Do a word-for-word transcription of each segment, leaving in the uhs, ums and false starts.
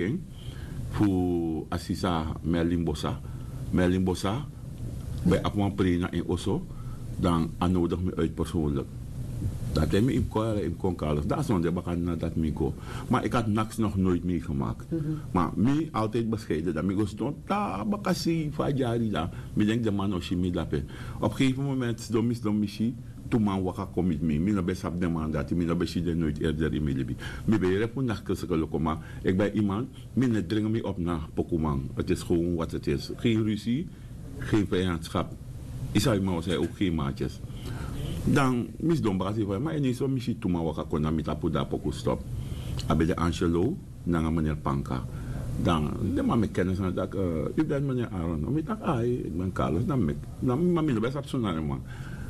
ken fu a sisa Merlin Bosa. Merlin Bosa ben abi wan prei na en oso, dan a nodigi mi uit persoonlijk. Dan te mi yu mus kon yara yu mus kon Carlos, dan a sonde baka na dati mi go. Ma eki had naks nog nooit meegemaakt. Ma mi altijd bescheiden, dan mi go sidon tabaka sei fu a dyari, dan mi denki den man no si mi dape. Op gegeven moment sidon mi sidon mi si tu man waka kon miti mi. Mi no ben sabi den man dati, mi no ben si den nooit eerder in mi libi. Mi ben yere fu nakskelseke loko, ma eki ben iman, mi no e dringi mi op na pokuman. Het is gewoon wat het is. Geen ruzie, geen vijandschap. Yu sabi man, wi zijn ook geen maatjes. Dan mi sidon baka sei fu en, ma ini so mi si tu man waka kon na mi tapu, dan a poku stop. A ben de Angelo nanga meneer Panka. Dan den man meki kennis nanga taki, yu ben meneer Aaron? Mi taki ai, eki ben Carlos. Dan meki, dan ma mi no ben sabi suma na den man.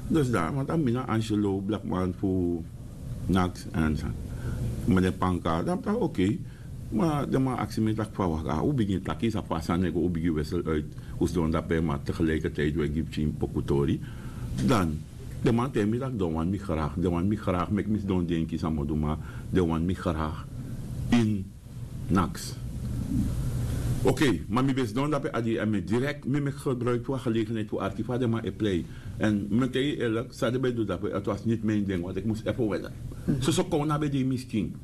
Dus dan, want a mi na Angelo, blakman fu naks en meneer Panka. Dan mi taki oké. Ma den man aksi mi taki fa waka, un bigin taki, sa fasi a nego, un bigin wissel uit, un sidon dape, ma tegelijkertijd un e gi pikin poku tori. Dan den man taigi mi taki den wani mi graag, den wani mi graag, meki mi sidon denki san mi o du, ma den wani mi graag in naks. Oké, ma mi ben sidon dape a dei en mi direct mi meki gebruik fu a gelegenheid fu arki fa den man e plei. En mi taigi yu eerlijk, san den ben du dape, het was niet mijn ding, want ik moest even wennen. Soso kowna ben de in mi skin.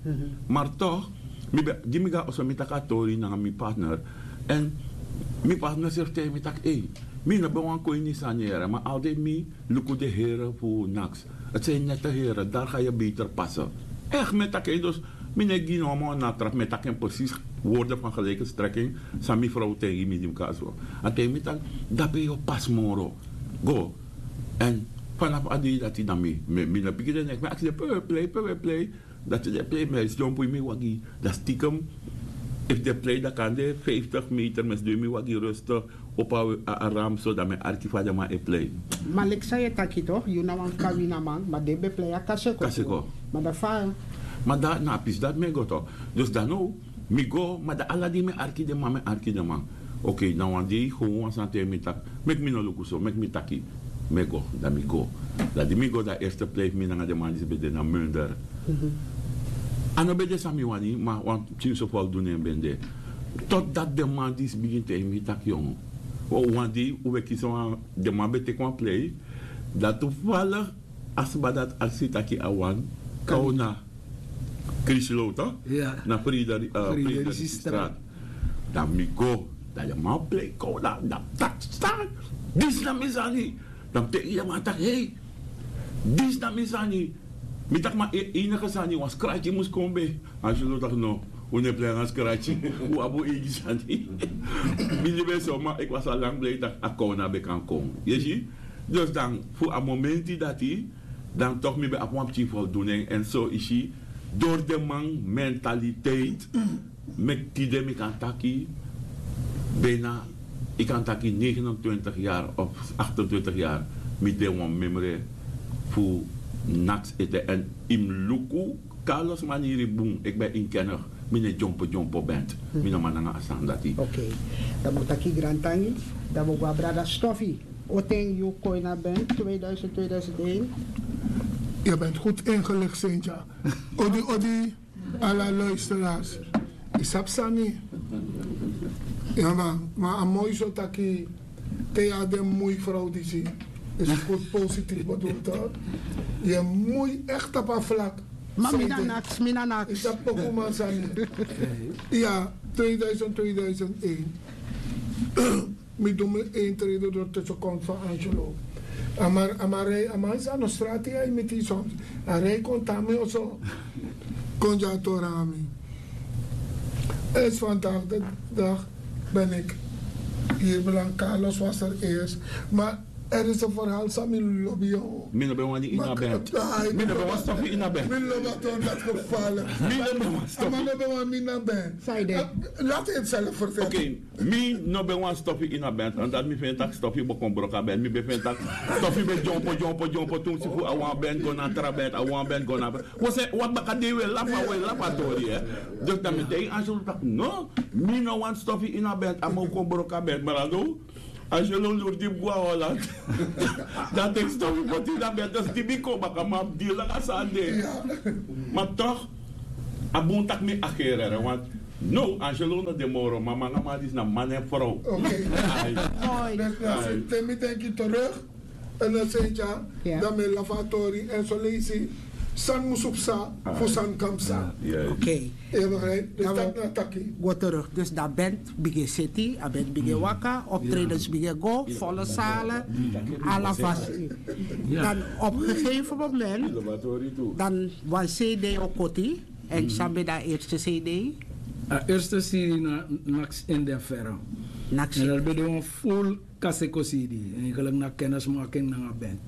Maar toch, mi ben, di mi go na oso mi taki a tori nanga mi partner. En mi partner srefi taigi mi taki ei, mi no ben wani kon ini sani yere, ma altijd mi luku den heren fu naks. Het zijn nette heren, daar ga je beter passen. Echt, mi e taki en, dus mi no e gi no moo natra, mi e taki en precies woorden van gelijke strekking san mi vrouw taigi mi di mi kon na so. A taigi mi taki dape yu o pasi moro. Go. En vanaf a dei dati dan mi, mi, mi no piki den neks, mi aksi den pe wi e plei, pe wi e plei. Dati den e plei, mi e sidon poi mi wagi. Dan stiekem, efu den e plei dan kande vijftig meter, mi e sidon ini mi wagi rustig, opo a, a, a ram so, dan mi e arki fa den man e plei. Ma leki san yu e taki toch, yu na wan kawinaman, ma den ben plei a kaseko. Kaseko. Ma dan fa? Ma dan na a pisi dati mi e go toch. Dus dan now, mi go, ma dan ala dei mi e arki den man, mi e arki den man. Oké, na wan dei gewoon wan sani taigi mi taki, meki mi no luku so, meki mi taki. Mi e go, dan mi go. Dan di mi go, dan eerste plei fu mi nanga den man disi ben de na Munder. A no ben de san mi wani, ma wan pikinso fu a o du nen ben de. Totdat den man disi bigin taigi mi taki yongu, wan dei un ben kisi wan, den man ben teki wan plei. Dan toevallig a sma dati aksi taki a wani kowna Krislow, toch? Na Frederik, eh, Frederik Straat. Dan mi go, dan den man plei kowna, dan taki stan. Disi na mi sani. Dan mi taigi den man taki hei, disi na mi sani. Mi taki ma e, enige sani, wan skrati mus kon ben. Angelo taki no, un no e plei nanga skrati, un abi un eigi sani. Mi no ben so, ma ik was al lang blij taki a kowna ben kan kon. Yu e si? Dus dan fu a momenti dati, dan toch mi ben abi wan pikin voldoening. En so yu si, door den man mentaliteit, meki tide mi kan taki, bijna, yu kan taki negenentwintig jaar of achtentwintig jaar, mi de wan memre fu naks ete. En yu mus luku Carlos maniri bun, ik ben inkennig, mi no e dyompo dyompo band, mi no man nanga a sani dati. Oké, dan mi o taki grantangi, dan mi o go na brada Stofi. Oten yu kon ini a band, tweeduizend, tweeduizend één. Je bent goed ingelicht, Cynthia. Odi, odi, ala luisteraars. Yu sabi sani. Ya man, ma a moi so taki, te yu a den moi vrouw disi, is goed positief bedoeld, hoor. Yu moi echt op a vlak. Ma mi na naks, mi na naks. Yu sabi pokuman sani. Ya, tweeduizend, tweeduizend één. Mi du mi entree door tussen kon van Angelo. A man, a man rij, a man is aan de straat, hij met die soms. A rij kon tami of zo. Kon ja torami. Is vandaag de dag ben ik hier beland. Carlos was er eerst. Maar er is een verhaal, Sami Lobby, joh. Mi no ben wani ini a band. Mi no ben wani stofi ini a band. Mi no ben wani stofi. A man no ben wani mi na band. Zei de. Laat hij het zelf vertellen. Oké. Mi no ben wani stofi ini a band, omdat mi feni taki stofi bo kon broko a band. Mi ben feni taki stofi ben dyompo, dyompo, dyompo, tumsi fu a wan band go na tra band, a wan band go na tra band. Wi se, wan baka dei wi e lafu, wi e lafu a tori, hè. Dus dan mi taigi Angelo taki, no, mi no wani stofi ini a band, a man kon broko a band, ma dan no. Angelo lori dipi go na Holland. Dan teki stofi poti ini a band, dus di mi kon baka, ma di langa sani de. Ma toch, a bun taki mi agerere, want No, Angelo no de moro, ma manga ma disi na man en vrouw. Oké. Ai. Mooi. Dus, dus, te mi denki terug, en dan zei ja, dan mi lafa tori, en zo leisi, san musu psa, fu san kan psa. Oké. Eeuwigheid, dus dat na taki. Go terug. Dus dan bent begin city, a bent begin waka, optredens begin go, volle zalen, ala fasi. Dan op een gegeven moment, dan wan C D o koti, en san ben dan eerste C D? A eerste C D na Naks in den Verre. Naks in den Verre. En dat ben dan een full Kaseko C D. Eigenlijk na kennismaking nanga band.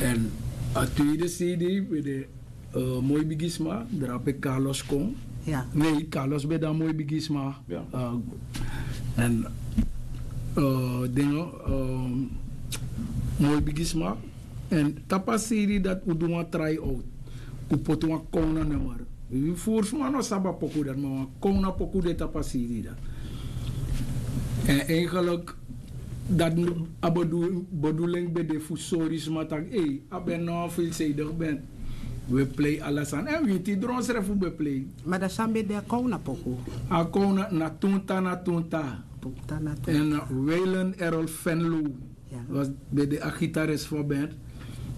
En a tweede C D ben de uh, Mooi Bigisma, drape Carlos kon. Nee, Carlos ben dan Mooi Bigisma. Uh, en uh, dingen, um, Mooi Bigisma. En tapu a C D dat un du wan try out. Un poti wan kona nummer. Wi furu sma no sabi a poku dat, ma wan kona poku de tapu a C D dat. En eigenlijk dat a bedoeling ben de fu sori sma taki, ei, a ben no a veelzijdig band. We play ala sani. En winti dron srefi un ben play. Ma dan san ben de a kona poku? A kona na Tunta na Tunta. Tunta na Tunta. En Welen Errol Venlo was ben de a gitarist fu a band.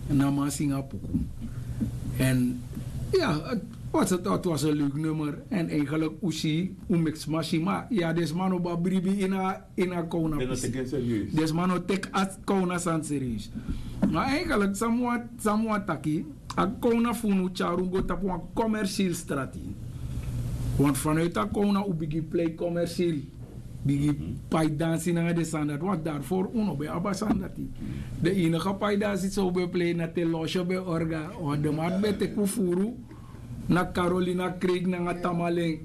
Na man singa poku. En ja, het was, het was een leuk nummer. En eigenlijk un si, un meki sma si, ma ya, den sma no ben bribi ini a, ini a kona pisi. Den sma no teki a kona sani serieus. Ma eigenlijk san mi wani taki, a kona fu unu tyari un go tapu wan commercieel strati. Want vanuit a kona un bigin play commercieel. Bigin pai dansi nanga den sani dati, want daarvoor un no ben abi a sani dati. Den enige pai dansi san un ben play na te Losho ben orga, want den man ben teki un furu na Carolina Creek nanga Tamalen.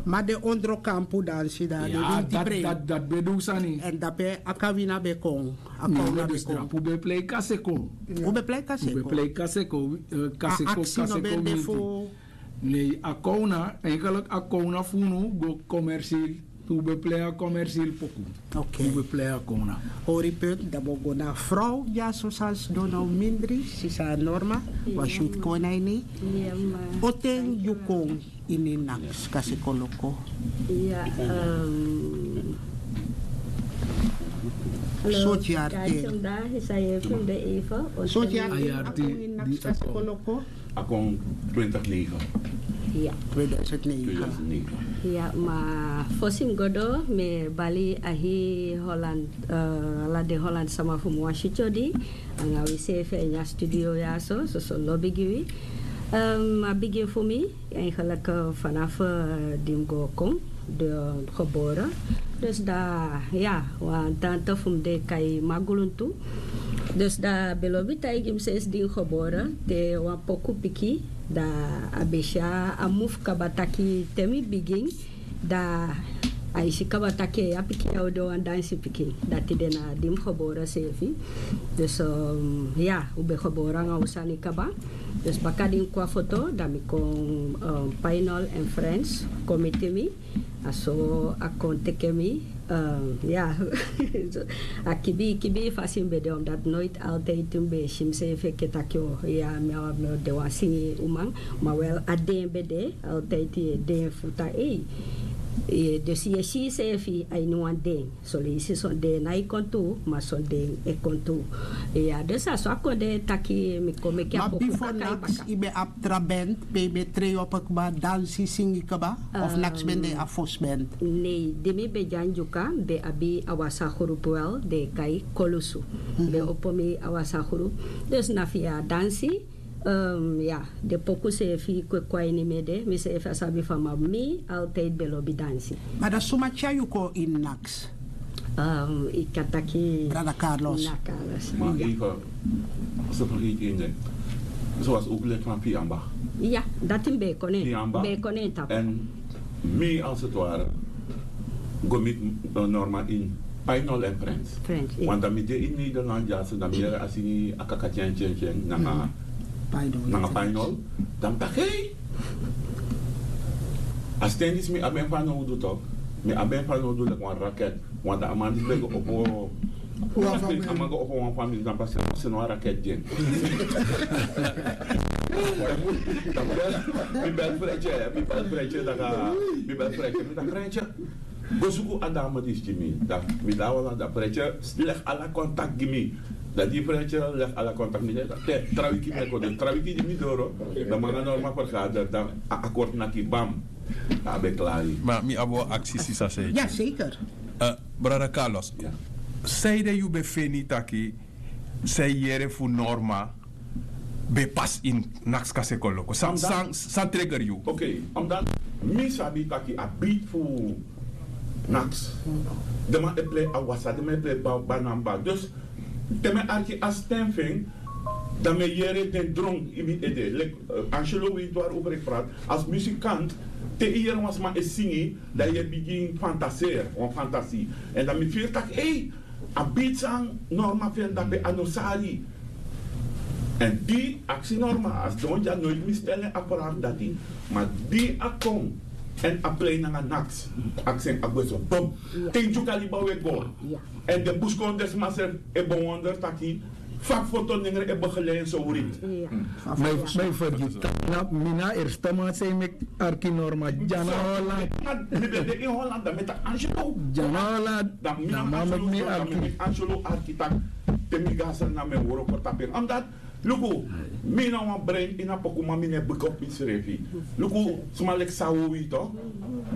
Ma den ondro kampu dansi dan, den winti prei. Dat ben du sani. En dape a kawina ben kon. A kawina ben kon. Drapu ben play kaseko. Un ben play kaseko. Un ben play kaseko, eh, kaseko, kaseko winti. Nee, a kona, eigenlijk a kona fu unu go commercieel. Un ben play a commercieel poku. Oké. Un ben play a kona. Hori punt, dan bo go na vrouw, ya, so san sidon na un mindri, sisa Norma, wan shuti kon na ini. Oten yu kon ini Naks Kaseko Loko. Ya, um, sortu yari ten. Sortu yari ten a kon ini Naks Kaseko Loko. A kon twintig negen. Ya. Tweeduizend negen. Ya, ma fosi mi go doro, mi e bali a hii Holland, eh, ala den Holland sama fu mi wan sityo di, anga wi seefi ini a studio ya so, soso lobi gi wi. Ehm, a bigin fu mi, eigenlijk, eh, vanaf, eh, di mi go kon. De geboren. Dus dan, ya, wan tante fu mi den e kai Maguluntu. Dus dan a ben lobi taigi mi sensi di mi geboren, te wan poku piki, dan a ben si a mufu kaba taki te mi bigin, dan a e si kaba taki a pikin ya o de wan dansi pikin. Dati de na di mi geboren seefi. Dus, um, ya, un ben geboren anga un sani kaba. Dus baka di mi kon a foto, dan mi kon, um, Painol en Friends kon miti mi. A so a kon teki mi, eh, ya. A kibi, kibi fasi mi ben de, omdat nooit altijd mi ben e si miseefi enke taki, o, ya, mi o, mi o de wan singi uman, ma wel a den ben de, altijd yu e denki fu taki, ei. Eh, dus yu e si yuseefi a ini wan den. Son leisi son den nái kon tu, ma son den e kon tu. Ya, dus a so a kon de taki mi kon meki a poku kaka baka. Ma bifo Naks yu ben abi tra band, pe yu ben trei opo kba, dansi, singi kba, of Naks ben de a fosi band? Nei, di mi ben de na Ndyuka, mi ben abi a wasa grupu wel, den e kai Kolusu. Mi ben opo mi a wasa grupu. Dus na via dansi, Ehm, ya, den poku seefi kon kon a ini mi ede, miseefi á sabi fa, ma mi altijd ben lobi dansi. Ma dan suma tyari yu kon ini Naks? Ehm, yu kan taki Brada Carlos. Na Carlos. Ma even, so vergeet één ding. Zoals ook lid van Piamba. Ya, dati mi ben kon na en. Piamba. Ben kon na en tapu. En mi als het ware go miti, eh, Norma in Painol en Friends. Friends, ya. Want dan mi de in Nederland, ya, so dan mi yere a singi a kaka tyen tyen tyen nanga, nanga Painol. Dan mi taki, hey! A sten disi mi abi en fanowdu toch. Mi abi en fanowdu leki wan raket. Want a man disi ben go opo, a man go opo wan famiri, dan pas a no wan raket gi en. Mi bel Fretje, mi bel Fretje, daka, mi bel Fretje, mi taki: Fretje, go suku a dame disi gi mi. Dan mi de na Holland, dan Fretje leg ala contact gi mi. Dan di Fretje leg ala contact gi mi, dan te tra wiki mi e kon, dus tra wiki di mi doro, dan mi nanga Norma vergader, dan a akkoord naki, bam. Dan a ben klari. Ma mi abi wan aksi, sisa Seiki. Ja, zeker. Eh, brada Carlos, sanede yu ben feni taki san yu yere fu Norma ben pasi ini Naksi Kasi Kon Loko? San, san, san trigger yu? Oké, omdat mi sabi taki a beat fu Naksi, den man e plei awasa, den man e plei ba, banamba. Dus te mi e arki a stem fu en, dan mi e yere den dron ini mi ede. Leki, eh, Angelo weet waarover ik praat. Als muzikant, te yu yere wan sma e singi, dan yu e bigin fantaseri, wan fantasie. En dan mi firi taki: ei, a beat san Norma feni dape, a no sari. En di aksi Norma, a sidon dya, noiti mi stel en a vraag dati. Ma di a kon, en a plei nanga Naksi, aksi en, a gwe so, bom. Te yu gi a liba, we go. En den buskondesma srefi e bewonder taki fa foto nengre e begeleid so writ. Ma yu fergiti taki na mi na a erste man san yu meki arki Norma, Djana Holland. Mi ben de in Holland, dan mi e taki Angelo. Djana Holland, dan mi na man meki mi arki. Angelo arki taki te mi go na Sranan mi e wroko tapu en. Omdat, luku, mi na wan brein ini a pokuman, mi no e bigi op misrefi. Luku, sma leki Sawowi, toch?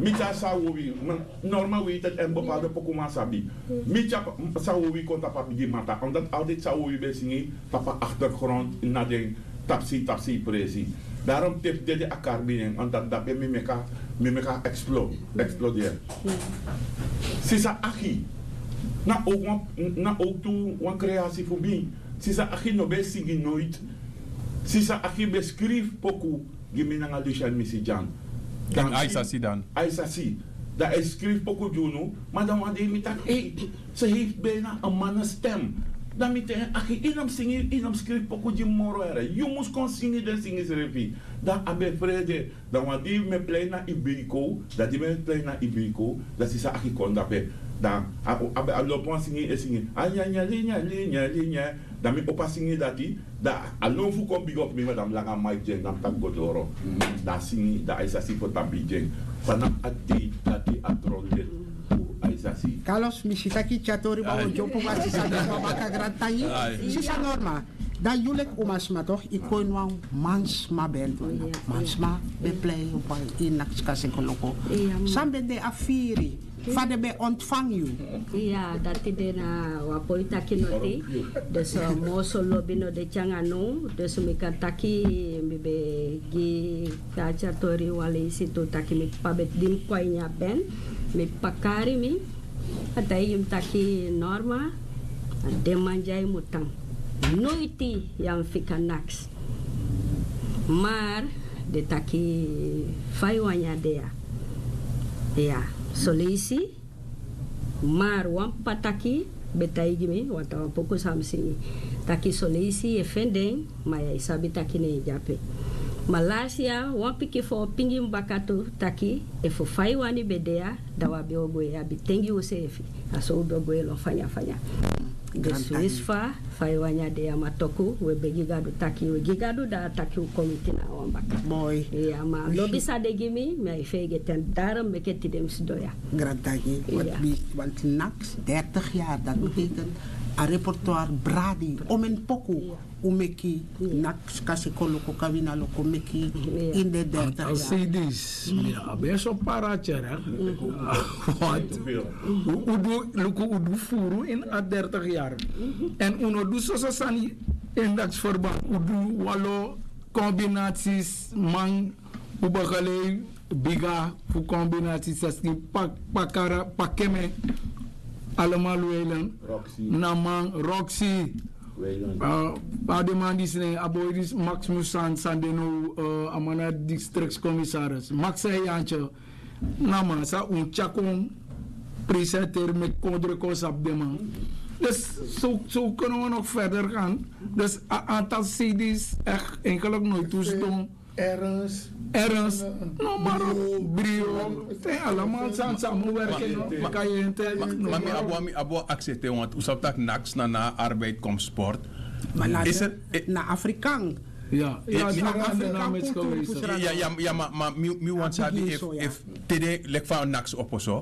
Mi tyari Sawowi, Norma weet het, en bepaalde pokuman sabi. Mi tyari Sawowi kon tapu a bigi mata, omdat altijd Sawowi ben singi tapu a achtergrond na den tapsei tapsei presi. Daarom te fu dede a kari bini en, omdat dape mi meki a, mi meki a explo, explodeer. Sisa Aki, na ook wan, na ook tu wan creatie fu mi. Sisa Aki no ben singi noiti. Sisa Aki ben skrifi poku gi mi nanga Lucian Misidyan. Dan Aisasi dan. Aisasi. Dan a e skrifi poku gi unu, ma dan wan dei mi taki: ei, ze heeft bijna een mannenstem. Dan mi taigi en: Aki, yu no mus singi, yu no mus skrifi poku gi mi moro, here. Yu mus kon singi den singi srefi. Dan a ben frede. Dan wan dei mi e plei na Ibeco, dan di mi e plei na Ibeco, dan Sisa Aki kon dape. Dan a, a, a lobi wan singi, e singi: a nya nya li nya li nya li nya. Dan mi opo a singi dati, dan a lon fu kon bigi op mi, ma dan mi langa Mike gi en, dan mi taki go doro. Dan a singi, dan Aisasi fu tapu gi en. Fanafu a dei dati a dron leti fu Aisasi. Carlos, mi si taki tyari tori, ma wi o dyompo, ma sisa Norma, baka, grantangi. Sisa Norma, dan yu leki umasma, toch, yu kon ini wan mansma band. Mansma ben plei wan ini Naksi Kasi Kon Loko. San ben de a firi? Fa den ben ontvangi yu? Ya, dati de na wan poi taki noti. Dus, eh, mi oso lobi no de tyari anga now. Dus mi kan taki, mi ben gi, tyari tori wan leisi tu, taki mi p'pa ben, di mi kon a ini a band, mi p'pa kari mi, a taigi mi taki: Norma, a den man dya yu mu tan. Noiti yu á mu fika Naksi. Maar den taki: fa yu wani a de ya? Ya, son leisi. Maar wan p'pa taki ben taigi mi, want a wan poku san mi singi, taki son leisi yu e feni den, ma yu á e sabi taki ne en de ape. Ma lasi yari wan pikin fu en o pingi mi baka tu taki efu fa yu wani ben de ya, dan wi á be o gwe, yu abi ten gi useefi. A so wi be o gwe lon fanya fanya. Dus winsi fa, fa yu wani a de ya, ma toku wi e begi Gadu taki, wi e gi Gadu, dan a taki wi kon miti na wan baka. Moi. Ya, ma lobi san den gi mi, mi á e feigeti en, daarom meke tide mi sidon ya. Grantangi, want Naksi dertig jaar, dat betekent a repertoire bradi, omeni poku. Un meki Naksi Kasi Kon Loko, Kawina Loko meki in de dertig jaar. Al C D's. Ya, a ben so para tyari. Want un, un du, luku, un du furu in a dertig jaar. En un no du soso sani in Naksi verband. Un du wanlo combinaties, man, un begeleid bigi fu combinaties, saskin, Pak, Pakara, Pakeme, allemaal Weiland. Roxy. Na man, Roxy. Weiland. Ah, a den man disi, ne, a boi disi, Maximus San, san de now, eh, a man na districtscommissaris. Max en Jantje. Na man san un tyari kon presenteri, meki kondre kon sabi den man. Dus zo, zo kunnen we nog verder gaan. Dus a aantal C D's, echt, eigenlijk nooit toestaan. Ernst. Ernst. No, maar ook Brio. Zijn allemaal sani, samenwerking, no? Kayente. Ma, ma mi abi wan, mi abi wan aksi ete, want un sabi taki Naksi na, na arbeid komt sport. Maar na, is er, eh, na Afrikaan. Ya, ya, ya, ya, ma, ma, mi, mi wan sabi efu, efu tede leki fa naks opo so.